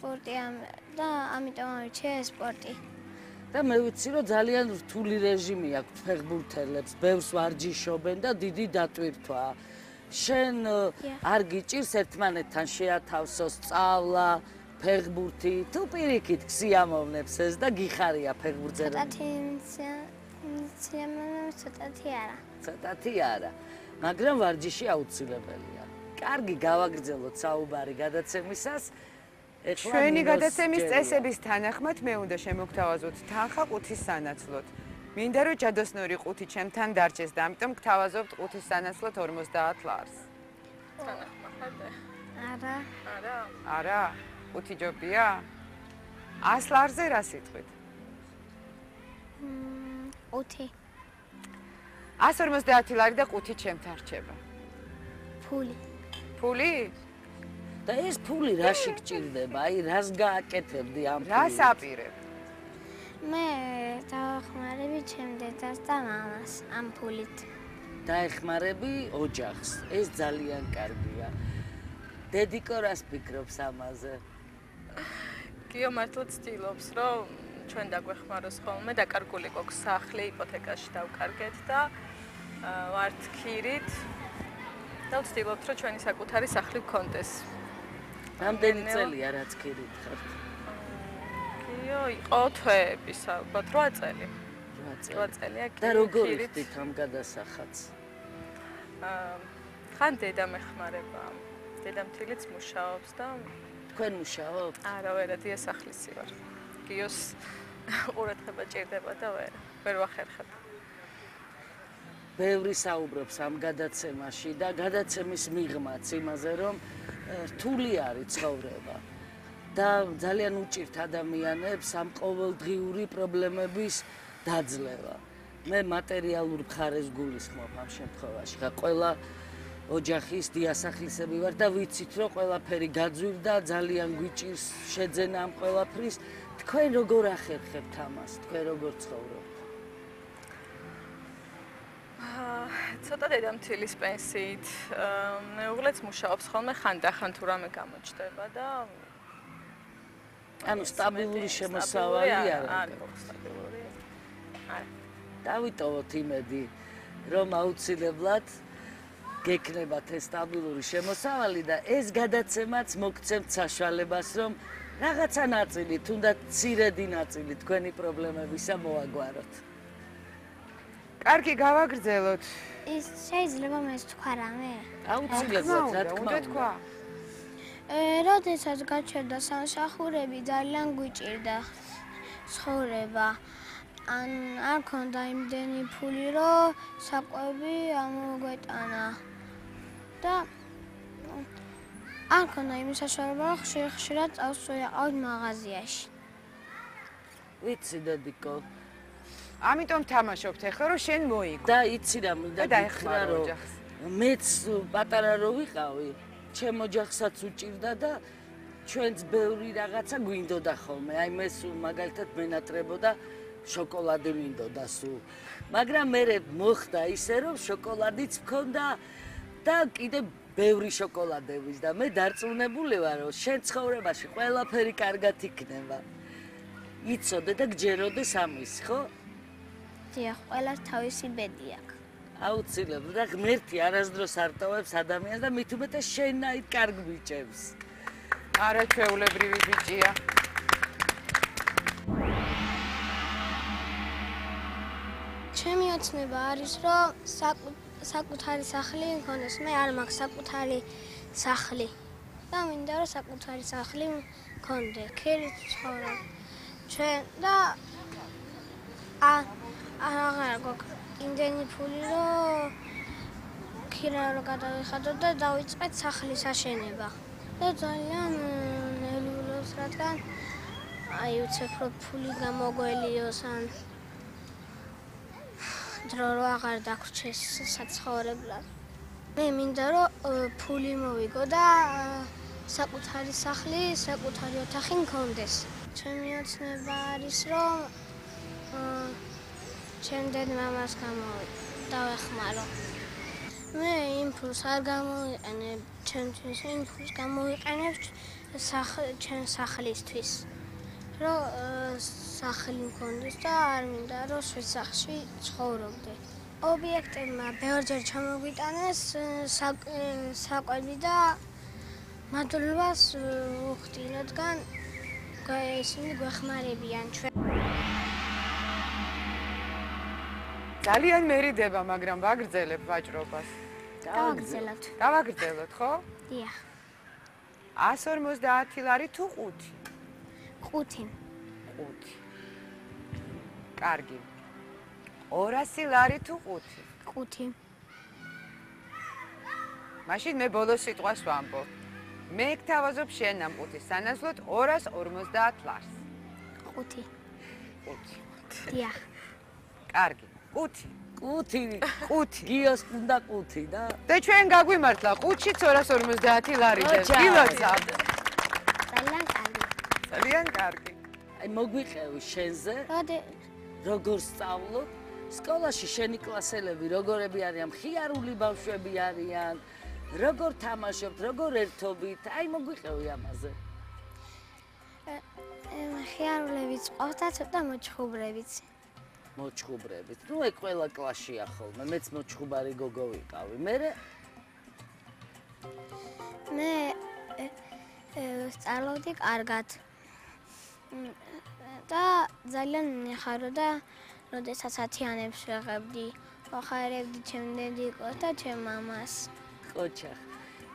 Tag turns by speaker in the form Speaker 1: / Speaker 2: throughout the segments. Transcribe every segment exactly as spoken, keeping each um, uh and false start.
Speaker 1: სპორტია და ამიტომ ავირჩიე სპორტი.
Speaker 2: და მე ვიცი, რომ ძალიან რთული რეჟიმი აქვს ფეხბურთელებს, ბევრს ვარჯიშობენ და დიდი დატვირთვაა. შენ არ გიჭირს ერთმანეთთან შეათავსოს სწავლა, ფეხბურთი, თუ პირიქით გსიამოვნებს ეს და გიხარია ფეხბურთზე?
Speaker 1: ცოტათი სიამოვნებს, ცოტათი არა.
Speaker 2: ცოტათი არა, მაგრამ ვარჯიში აუცილებელია. კარგი, გავაგრძელოთ საუბარი გადაცემისას.
Speaker 3: ჩვენი გადაცემის წესების თანახმად მე უნდა შემოგთავაზოთ თანხა ყუთის სანაცვლოდ. მინდა რომ ჯადოსნური ყუთი ჩემთან დარჩეს და ამიტომ გთავაზობთ ყუთის სანაცვლოდ ორმოცდაათ ლარს.
Speaker 4: თანახმა ხარდა?
Speaker 1: არა.
Speaker 4: არა.
Speaker 3: არა? ყუთი ჯობია? ას ლარზე რა სიტყვით?
Speaker 1: ყუთი.
Speaker 3: ას ორმოცდაათი ლარი და ყუთი ჩემთან რჩება.
Speaker 1: ფული.
Speaker 3: ფული?
Speaker 2: და ეს ფული რაში გჭირდება? აი, რას გააკეთებდი ამ ფულით?
Speaker 3: რას აპირებ?
Speaker 1: მე დავახმარები ჩემ დედას და მამას ამ ფულით.
Speaker 2: დაეხმარები ოჯახს. ეს ძალიან კარგია. დედიკო რას ფიქრობს ამაზე?
Speaker 4: გიო მართლა ცდილობს, რომ ჩვენ დაგვეხმაროს ხოლმე, დაკარგული გვაქვს სახლი, იპოთეკაში დავკარგეთ და ვართ ქირით. და ვცდილობთ, რომ ჩვენი საკუთარი სახლი გქონდეს.
Speaker 2: რამდენი წელია რაც ქირით ხართ?
Speaker 4: გიო, იყო თვეების ალბათ რვა წელი. რვა წელია ქირით.
Speaker 2: და როგორ იხდით ამ გადასახადს?
Speaker 4: აა, ხან დედა მეხმარება. დედამთილიც მუშაობს და
Speaker 2: თქვენ მუშაობთ?
Speaker 4: არა, ვერა დიასახლისი ვარ. გიოს ყურადღება ჭირდება და ვერ ვერ ვახერხებ.
Speaker 2: ბევრი საუბრობს ამ გადაცემაში და გადაცემის მიღმაც იმაზე, რომ რთული არის ცხოვრება და ძალიან უჭირთ ადამიანებს ამ ყოველდღიური პრობლემების დაძლევა. მე მატერიალურ მხარეს გულისხმობ ამ შემთხვევაში. ხა ყველა ოჯახის დიასახლისები ვარ და ვიცით, რომ ყველაფერი გაძვირდა, ძალიან გვიჭირს შეძენა ამ ყველაფრის. თქვენ როგორ ახერხებთ ამას? თქვენ როგორ ცხოვრობთ?
Speaker 4: ცოტა დედამთილის პენსიით მეუღლეც მუშაობს ხოლმე ხანდახან თუ რამე გამოჩნდება და
Speaker 2: ანუ სტაბილური შემოსავალი არ
Speaker 4: არის სტაბილური. არა.
Speaker 2: დავიტოვოთ იმედი, რომ აუცილებლად გექნებათ ეს სტაბილური შემოსავალი და ეს გადაცემაც მოგცემთ საშუალებას, რომ რაღაცა ნაწილი, თუნდაც მცირედი ნაწილი თქვენი პრობლემებისა მოაგვაროთ.
Speaker 3: კარგი, გავაგრძელოთ.
Speaker 1: ის შეიძლება მე თქვა რამე?
Speaker 2: აუცილებლად, რა თქმა უნდა.
Speaker 1: როდესაც გაჩერდა სამსახურები, ძალიან გვიჭირდა ცხოვრება. ან არ ქონდა იმდენი ფული, რომ საკვები ამოგვეტანა. და არ ქონდა იმის საშუალება, რომ ხშირ-ხშირად წავსვეყავ მაღაზიაში.
Speaker 2: ვიცი, დედიკო.
Speaker 3: ამიტომ თამაშობთ ახლა, რომ შენ მოიგო.
Speaker 2: და იცი რა მინდა გითხრა, რომ მეც პატარა რო ვიყავი, ჩემ ოჯახსაც უჭირდა და ჩვენც ბევრი რაღაცა გვინდოდა ხოლმე. აი მე სულ მაგალითად მენატრებოდა შოკოლადი მინდოდა სულ. მაგრამ მე მოხდა ისე, რომ შოკოლადიც მქონდა და კიდე ბევრი შოკოლადების და მე დარწმუნებული ვარ, რომ შენ ცხოვრებაში ყველაფერი კარგად იქნება. იცოდე და გჯეროდეს ამის, ხო?
Speaker 1: დიახ, ყველას თავისი ბედი აქვს.
Speaker 2: აუცილებლად და ღმერთი არასდროს არ ტოვებს ადამიანს და მით უმეტეს შენნაირ კარგ ბიჭებს.
Speaker 3: არაჩვეულებრივი ბიჭია.
Speaker 1: ჩემი ოცნება არის, რომ საკუთარი სახლი მქონდეს. მე არ მაქვს საკუთარი სახლი. და მინდა რომ საკუთარი სახლი მქონდეს. ქირით ცხოვრობ. ჩვენ და აღარ გვაქვს იმდენი ფული, რომ ქირა რო გადავიხადოთ და დავიწყეთ სახლის აშენება. და ძალიან ნერვიულობს, რადგან აი უცებ რო ფული გამოგველიოს ან დრო რო აღარ დაგვრჩეს საცხოვრებლად. მე მინდა რომ ფული მოვიგო და საკუთარი სახლი, საკუთარი ოთახი მქონდეს. ჩემი ოცნება არის, რომ ჩემ დედ-მამას დავეხმარო. მე იმ ფულს არ გამოვიყენებ, ჩემთვის იმ ფულს გამოვიყენებ ჩემ სახლისთვის. რომ სახლი მქონდეს და არ მინდა რომ სახლში ცხოვრობდე. ობიექტებმა ბევრჯერ ჩამოგვიტანეს საკვები და მადლობას ვუხდი, რადგან ისინი გვეხმარებიან ჩვენ.
Speaker 3: ძალიან მერიდება, მაგრამ ვაგრძელებ ვაჭრობას.
Speaker 1: დავაგრძელოთ.
Speaker 3: დავაგრძელოთ, ხო?
Speaker 1: დიახ.
Speaker 3: ას ორმოცდაათი ლარი თუ ხუთი?
Speaker 1: ხუთი.
Speaker 3: ხუთი. კარგი. ორასი ლარი თუ ხუთი?
Speaker 1: ხუთი.
Speaker 3: მაშინ მე ბოლოს სიტყვას ვამბობ. მე გთავაზობ შენ ამ ხუთის სანაცვლოდ ორას ორმოცდაათ ლარს.
Speaker 1: ხუთი.
Speaker 3: ხუთი.
Speaker 1: დიახ.
Speaker 3: კარგი. ხუთი.
Speaker 2: ხუთი.
Speaker 3: ხუთი.
Speaker 2: გიოს უნდა ხუთი და
Speaker 3: და ჩვენ გაგვიმართლა ხუთშიც ორას ორმოცდაათი ლარი და გილოცა.
Speaker 1: ძალიან კარგი.
Speaker 3: ძალიან კარგი.
Speaker 2: აი მოგვიყევი შენზე,
Speaker 1: როდი
Speaker 2: როგორ სწავლობ? სკოლაში შენი კლასელები როგორები არიან? მხიარული ბავშვები არიან? როგორ თამაშობთ, როგორ ერთობით? აი მოგვიყევი ამაზე.
Speaker 1: მხიარულებიც ყავთ და ცოტა მოჩხუბრებიც.
Speaker 2: მოჩხუბრებით. ნუ ეგ ყველა კლასშია ხოლმე. მეც მოჩხუბარი გოგო ვიყავი. მერე
Speaker 1: მე სწავლობდი კარგად. და ძალიან მიხარო და როდესაც ათიანებს ვეღებდი, ვახარებდი ჩემ დედიკოს და ჩემ მამას.
Speaker 2: ყოჩახ.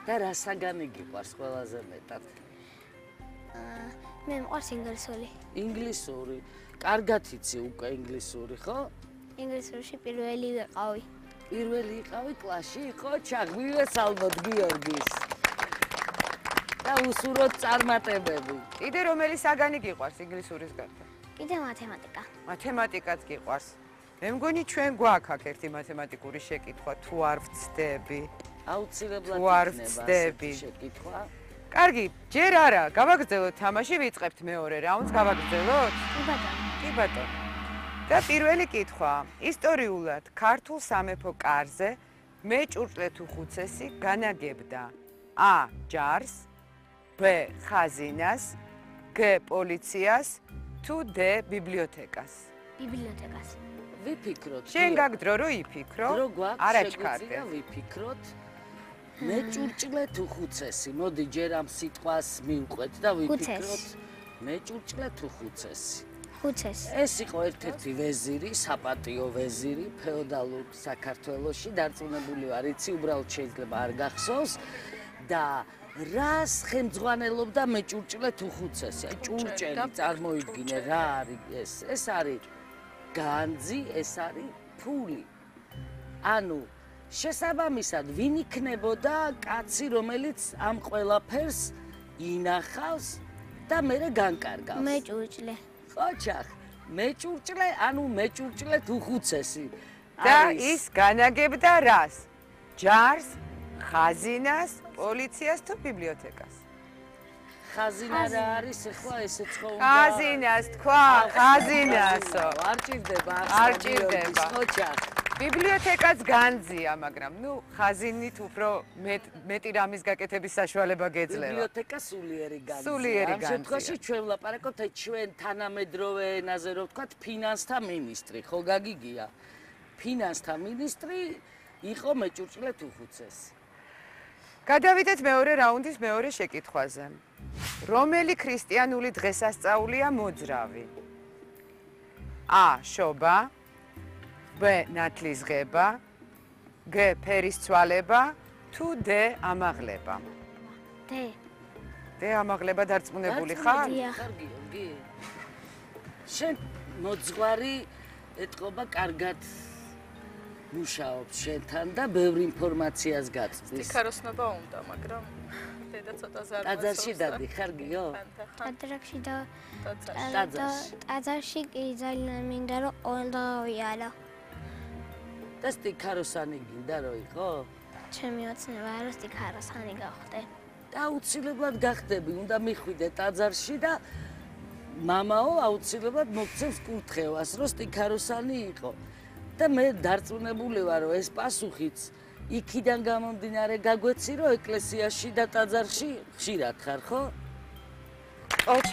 Speaker 2: და რა საგანი გიყვარს ყველაზე მეტად?
Speaker 1: მე მყავს ინგლისური.
Speaker 2: ინგლისური. კარგად იცი უკვე ინგლისური, ხო?
Speaker 1: ინგლისურში პირველი ვიყავი.
Speaker 2: პირველი იყავი კლასში, ყოჩახ, მივესალმოთ გიორგის. და უსურვოთ წარმატებები.
Speaker 3: კიდე რომელი საგანი გიყვარს ინგლისურის გარდა?
Speaker 1: კიდე მათემატიკა.
Speaker 3: მათემატიკაც გიყვარს. მე მგონი ჩვენ გვაქვს აქ ერთი მათემატიკური შეკითხვა, თუ არ ვცდები.
Speaker 2: აუცილებლად
Speaker 3: თუ არ
Speaker 2: იქნება
Speaker 3: ვცდები.
Speaker 2: ასეთი შეკითხვა.
Speaker 3: კარგი, ჯერ არა, გავაგრძელოთ თამაში, ვიწყებთ მეორე რაუნდს, გავაგრძელოთ?
Speaker 1: კი ბატონო.
Speaker 3: კი ბატონო. და პირველი კითხვა. ისტორიულად ქართულ სამეფო კარზე მეჭურჭლე თუ ხუცესი განაგებდა A. ჯარს, B. ხაზინას, G. პოლიციას, თუ D. ბიბლიოთეკას.
Speaker 1: ბიბლიოთეკას.
Speaker 2: ვიფიქროთ.
Speaker 3: შენ გაგდრო რო იფიქრო?
Speaker 2: დრო გვაქვს,
Speaker 3: არა
Speaker 2: შეგვიძლია
Speaker 3: ჩქარდე.
Speaker 2: ვიფიქროთ. მეჭურჭლე თუ ხუცესი. მოდი ჯერ ამ სიტყვას მივყვეთ და ვიფიქროთ. მეჭურჭლე თუ ხუცესი.
Speaker 1: ხუცესი.
Speaker 2: ეს იყო ერთ-ერთი ვეზირი, საპატიო ვეზირი ფეოდალურ საქართველოში, დარწმუნებული ვარ, იცი უბრალოდ შეიძლება არ გახსოვს და რას ხელმძღვანელობდა მეჭურჭლე თუ ხუცესი? აი ჭურჭელი წარმოიდგინე რა არის ეს? ეს არის განძი, ეს არის ფული. ანუ შესაბამისად ვინ იქნებოდა კაცი, რომელიც ამ ყველაფერს ინახავს და მერე განკარგავს?
Speaker 1: მეჭურჭლე.
Speaker 2: ყოჩახ, მეჭურჭლე, ანუ მეჭურჭლე თუ ხუცესი.
Speaker 3: და ის განაგებდა რას? ჯარს, ხაზინას, პოლიციას თუ ბიბლიოთეკას?
Speaker 2: ხაზინა რა არის ახლა ესეც ხო უნდა?
Speaker 3: ხაზინას თქვა, ხაზინასო.
Speaker 2: არ ჭირდება,
Speaker 3: არ ჭირდება.
Speaker 2: ყოჩახ.
Speaker 3: ბიბლიოთეკაც განძია, მაგრამ ნუ ხაზინით უფრო მეტი რამის გაკეთების საშუალება გეძლევა.
Speaker 2: ბიბლიოთეკა სულიერი განძია.
Speaker 3: სულიერი
Speaker 2: ამ შემთხვევაში
Speaker 3: განძია.
Speaker 2: ჩვენ ვლაპარაკობთ აი ჩვენ თანამედროვე ენაზე რო ვთქვათ ფინანსთა მინისტრი, ხო გაგიგია? ფინანსთა მინისტრი იყო მეჭურჭლე თუ ხუცესი.
Speaker 3: გადავიდეთ მეორე რაუნდის მეორე შეკითხვაზე. რომელი ქრისტიანული დღესასწაულია მოძრავი? A. შობა, B. ნათლისღება, G. ფერისცვალება, თუ D. ამაღლება?
Speaker 1: D.
Speaker 3: D. ამაღლება დარწმუნებული ხარ?
Speaker 1: დიახ.
Speaker 2: კარგი, გი. შენ მოძღვარი ეთყობა კარგად მუშაობს შენთან და ბევრი ინფორმაციას გაწვდის.
Speaker 4: დიქაროსნობა უნდა, მაგრამ დედა ცოტა ზარმაცობს.
Speaker 2: ტაძარში დადი, ხარ გიო?
Speaker 1: ტაძარში და
Speaker 2: ტაძარში.
Speaker 1: ტაძარში კი ძალიან მინდა რომ ყველა ვიარო.
Speaker 2: და სტიქაროსანი გინდა რო იყო?
Speaker 1: ჩემი ოცნება რომ სტიქაროსანი გავხდე.
Speaker 2: და აუცილებლად გახდები, უნდა მიხვიდე ტაძარში და მამაო აუცილებლად მოგცემს კურთხევას, რომ სტიქაროსანი იყო. და მე დარწმუნებული ვარ, რომ ეს პასუხიც იქიდან გამომდინარე გაგვეცი, რომ ეკლესიაში და ტაძარში ხშირად ხარ, ხო?
Speaker 3: ოჩა